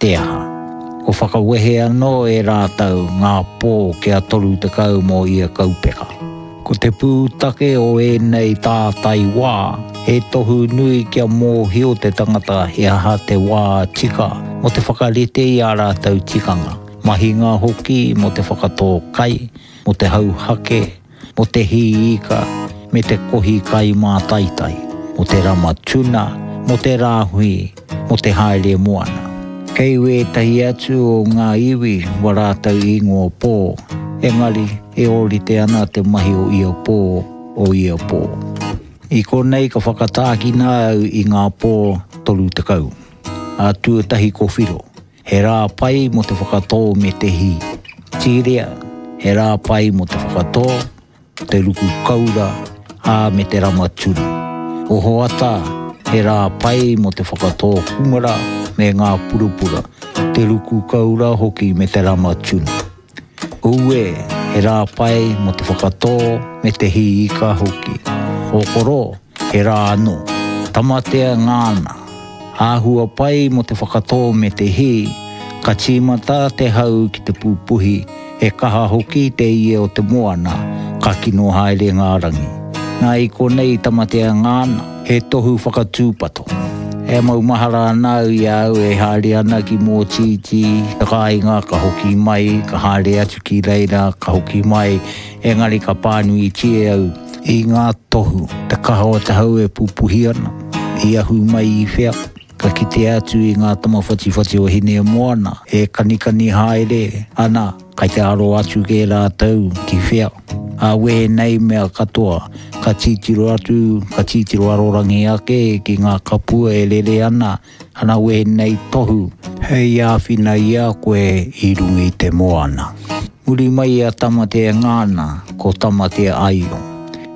te aha. Ko whakawehe anō e rātou ngā pō kia 30 mō ia kaupeka. Ko te pūtake o ēnei tātai wā, he tohu nui kia mōhio te tangata he aha te wā tika mō te whakarite i ā rātou tikanga, mahinga hoki mō te whakatō kai, mō te hauhake, mō te hī ika, me te kohi kai mātaitai, mō te rama tuna, mō te rāhui, mō te haere moana. Kei wētahi atu o ngā iwi wa rātou ingoa pō, engari e ōrite ana te mahi o ia pō, o ia pō. I konei ka whakatākina au i ngā pō 30. Ā tuatahi ko Whiro. He rā pai mō te whakatō me te hī. Tīrea, he rā pai mō te whakatō, te ruku koura, ā, me te rama tuna. Ohoata, he rā pai mō te whakatō kumara me ngā purapura, te ruku koura hoki me te rama tuna. Ue, he rā pai mō te whakatō me te hī ika hoki. Ōkoro, he rā anō. Tamatea ngāna. Āhua pai mō te whakatō me te hī, ka tīmata te hau ki te pupuhi, he kaha hoki te ie o te moana, ka kino haere ngā rangi. Nā i konei Tamatea ngāna, he tohu whakatūpato. E maumahara ana au i a au e haere ana ki Mōtītī, te kāinga, ka hoki mai, ka haere atu ki reira, ka hoki mai, engari ka pānuitia au i ngā tohu, te kaha o te hau e pupuhi ana, i ahu mai i whea, ka kitea atu i ngā tama whatiwhati o Hinemoana e kanikani haere ana, Kai te aro atu kē rātou ki whea. Ā wēnei mea katoa, ka titiro atu, ka titiro arorangi ake ki ngā kapua e rere ana, ana wēnei tohu hei āwhina i a koe i runga i te moana. Muri mai i a Tamatea Ngāna, ko Tamatea Aio.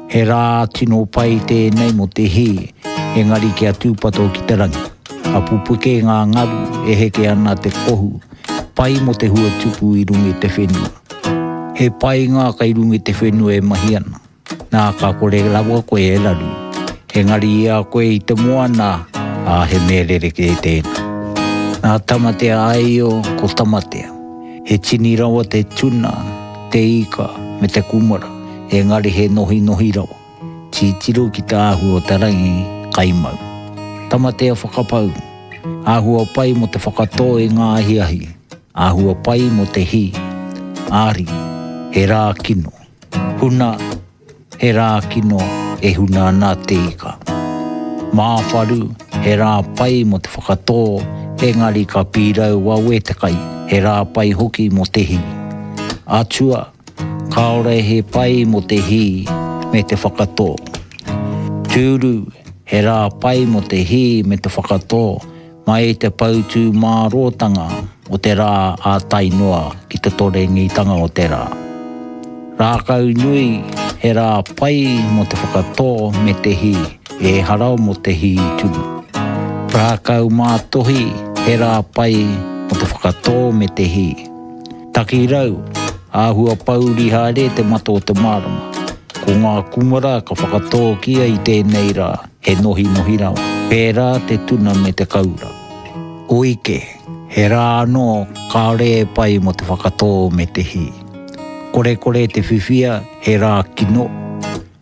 He rā tino pai tēnei mō te hī, engari kia tūpato ki te rangi. Ka pupuke ngā ngaru, e heke ana te kohu, Pai mo te hua tupu i runga i te whenua. He pai ngā kai runga i te whenua e mahi ana. Nā, ka kore rawa koe e raru. Engari i a koe i te moana, ā, he mea rerekē tēnā. Nā Tamatea Aio, ko Tamatea. He tini rawa te tuna, te ika, me te kumara, engari he nohinohi rawa. Titiro ki te āhua o te rangi, kai mau. Tamatea whakapau. Āhua pai mō te whakatō i ngā ahiahi. Āhua pai mō te hī. Āri, he rā kino. Huna, he rā kino e huna ana te ika. Māwharu, he rā pai mō te whakatō, engari ka pīrau wawe te kai, he rā pai hoki mō te hī. Atua, Kāore he pai mō te hī me te whakatō. Tūru, he rā pai mō te hī me te whakatō, mai i te poutūmārōtanga o te rā ā tae noa ki te torengitanga o te rā. Rākau nui, he rā pai mō te whakatō me te hī, ehara mō te hī tunu. Rākau mātohi, he rā pai mō te whakatō me te hī. Takirau, āhua pōuri haere te mata o te marama. Ko ngā kumara ka whakatōkia i tēnei rā, he nohinohi rawa. Pērā te tuna me te koura. Oike, he rā anō kāore e pai mō te whakatō me te hī. Korekore te whiwhia, he rā kino.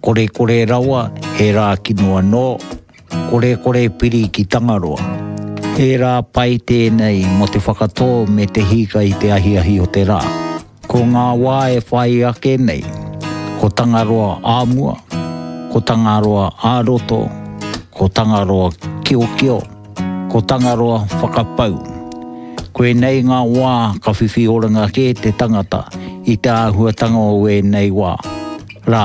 Korekore rawa, he rā kino anō. Korekore piri ki Tangaroa. He rā pai tēnei mō te whakatō me te hīka i te ahiahi o te rā. Ko ngā wā e whai ake nei, ko Tangaroa ā-mua, ko Tangaroa ā-roto, ko Tangaroa kiokio, ko Tangaroa whakapau. Koinei ngā wā ka whiwhi oranga kē te tangata i te āhuatanga o ēnei wā. Rā,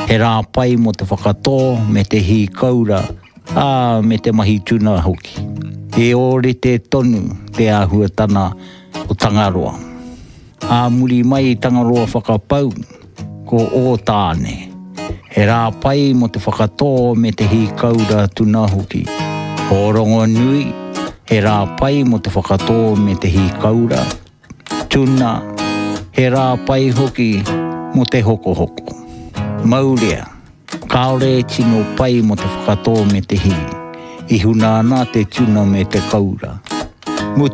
he rā pai mō te whakatō me te hī koura, ā, me te mahi tuna hoki. He ōrite tonu te āhuatana o Tangaroa. Ā muri mai i Tangaroa whakapau, ko Ōtāne. He rā pai mō te whakatō me te hī koura tuna hoki. Ōrongonui, he rā pai mō te whakatō me te hī koura. Tuna, he rā pai hoki mō te hokohoko. Maurea, kāore e tino pai mō te whakatō me te hī. I huna ana te tuna me te koura.